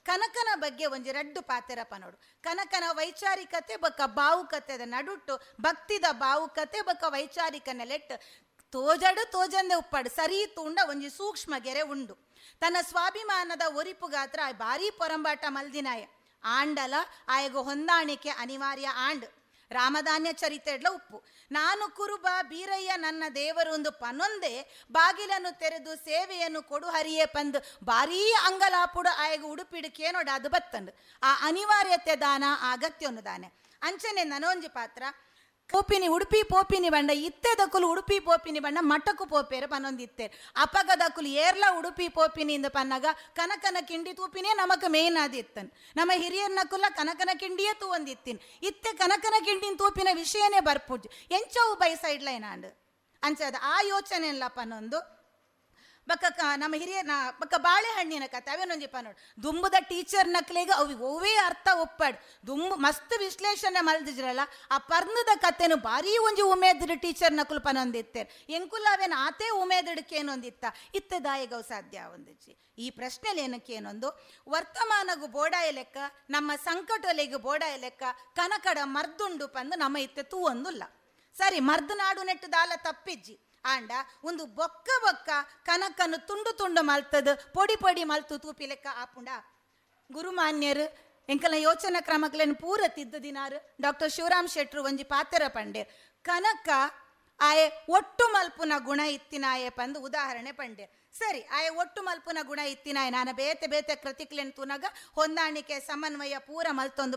ಕನಕನ ಬಗ್ಗೆ ಒಂಜಿ ರಡ್ಡು ಪಾತೆರ ಪನೋಡು. ಕನಕನ ವೈಚಾರಿಕತೆ ಬೊಕ್ಕ ಭಾವುಕತೆದ ನಡುಟ್ಟು, ಭಕ್ತಿದ ಭಾವುಕತೆ ಬೊಕ್ಕ ವೈಚಾರಿಕ ನೆಲೆಟ್ ತೋಜಡು ತೋಜಂದೆ ಉಪ್ಪಾಡು ಸರಿ ತೂಂಡ ಒಂಜಿ ಸೂಕ್ಷ್ಮ ಗೆರೆ ಉಂಡು. ತನ್ನ ಸ್ವಾಭಿಮಾನದ ಒರಿಪುಗಾತ್ರ ಭಾರೀ ಪೊರಂಬಾಟ ಮಲ್ದಿನಾಯ ಆಂಡಲ ಆಯಗು ಹೊಂದಾಣಿಕೆ ಅನಿವಾರ್ಯ ಆಂಡ್. ರಾಮಧಾನ್ಯ ಚರಿತೆಡ್ಲ ಉಪ್ಪು ನಾನು ಕುರುಬ ಬೀರಯ್ಯ ನನ್ನ ದೇವರು ಒಂದು ಪನೊಂದೇ ಬಾಗಿಲನ್ನು ತೆರೆದು ಸೇವೆಯನ್ನು ಕೊಡು ಹರಿಯೇ ಪಂದು ಭಾರೀ ಅಂಗಲಾಪುಡು ಆಯಗು ಉಡುಪಿಡುಕೇನೋಡ ಅದು ಬತ್ತಂಡು. ಆ ಅನಿವಾರ್ಯತೆ ದಾನ ಅಗತ್ಯವನ್ನು ದಾನೆ. ಅಂಚನೆ ನನೊಂಜಿ ಪಾತ್ರ ಪೋಪಿನಿ ಉಡುಪಿ ಪೋಪಿನಿ ಬಂಡ ಇತ್ತೆದಕ್ಕುಲು ಉಡುಪಿ ಪೋಪಿನಿ ಬಂಡ ಮಠಕ್ಕು ಪೋಪೇರು ಪನ್ನೊಂದಿತ್ತೇರು. ಅಪಗದಕ್ಕುಲು ಏರ್ಲ ಉಡುಪಿ ಪೋಪಿನಿ ಇಂದ ಪನ್ನಾಗ ಕನಕನ ಕಿಂಡಿ ತೂಪಿನೇ ನಮಕ್ ಮೇನ್ ಆದಿತ್ತನ್. ನಮ್ಮ ಹಿರಿಯರ್ನಕುಲ ಕನಕನ ಕಿಂಡಿಯೇ ತೂವಂದಿತ್ತೀನಿ. ಇತ್ತೆ ಕನಕನ ಕಿಂಡಿನ ತೂಪಿನ ವಿಷಯನೇ ಬರ್ಪುಜ್ ಎಂಚವು ಬೈ ಸೈಡ್ ಲೈನ್ ಆಂಡ್ ಅಂಚದ ಆ ಯೋಚನೆ ಇಲ್ಲ ಪನ್ನೊಂದು. ಬಕ್ಕ ನಮ್ಮ ಹಿರಿಯ ಬಕ್ಕ ಬಾಳೆಹಣ್ಣಿನ ಕತೆ ಅವೇನೊಂಜಿ ಪನ್ನೋಡು. ದುಂಬುದ ಟೀಚರ್ ನಕ್ಲೆಗ್ ಅವು ಒವ್ವೇ ಅರ್ಥ ಒಪ್ಪಾಡು ದುಂಬು ಮಸ್ತ್ ವಿಶ್ಲೇಷಣೆ ಮಲ್ದಿಜ್ರಲ್ಲ ಆ ಪರ್ನದ ಕತೆನು ಭಾರೀ ಒಂಜಿ ಉಮೇದಿಡು ಟೀಚರ್ ನಕುಲು ಪನೊಂದಿತ್ತೇರು. ಎಂಕುಲ ಅವೇನು ಆತೇ ಉಮೇದಿಡಕ್ಕೇನೊಂದಿತ್ತ ಇತ್ತೆ ದಾಯಿಗವು ಸಾಧ್ಯ ಒಂದಿಜ್ಜಿ. ಈ ಪ್ರಶ್ನೆಲಿ ಏನಕ್ಕೇನೊಂದು ವರ್ತಮಾನಗು ಬೋಡಾಯ ಲೆಕ್ಕ ನಮ್ಮ ಸಂಕಟೊಲೆಗು ಬೋಡಾಯ ಲೆಕ್ಕ ಕನಕಡ ಮರ್ದುಂಡು ಪಂದು ನಮ್ಮ ಇತ್ತೆ ತೂವೊಂದುಲ್ಲ. ಸರಿ ಮರ್ದು ನಾಡು ನೆಟ್ಟು ದಾಲ ತಪ್ಪಿಜ್ಜಿ ಆಂಡ ಒಂದು ಬೊಕ್ಕ ಬೊಕ್ಕ ಕನಕನ್ನು ತುಂಡು ತುಂಡು ಮಲ್ತದ ಪೊಡಿ ಪೊಡಿ ಮಲ್ತು ತೂಪಿ ಲೆಕ್ಕ ಆಪುಂಡ. ಗುರುಮಾನ್ಯರು ಎಂಕಲ ಯೋಚನಾ ಕ್ರಮಕ್ಲೇನು ಪೂರ ತಿದ್ದ ದಿನಾರು ಡಾಕ್ಟರ್ ಶಿವರಾಮ್ ಶೆಟ್ರು ಒಂಜಿ ಪಾತೆರ ಪಂಡೇರ್. ಕನಕ ಆಯೆ ಒಟ್ಟು ಮಲ್ಪುನ ಗುಣ ಇತ್ತಿನಾಯೆ ಪಂದು ಉದಾಹರಣೆ ಪಂಡೇರ್. ಸರಿ ಆಯೆ ಒಟ್ಟು ಮಲ್ಪುನ ಗುಣ ಇತ್ತಿನಾಯ ನಾನು ಬೇತೆ ಬೇತೆ ಕೃತಿಕ್ಲೇನು ತೂನಾಗ ಹೊಂದಾಣಿಕೆ ಸಮನ್ವಯ ಪೂರ ಮಲ್ತೊಂದು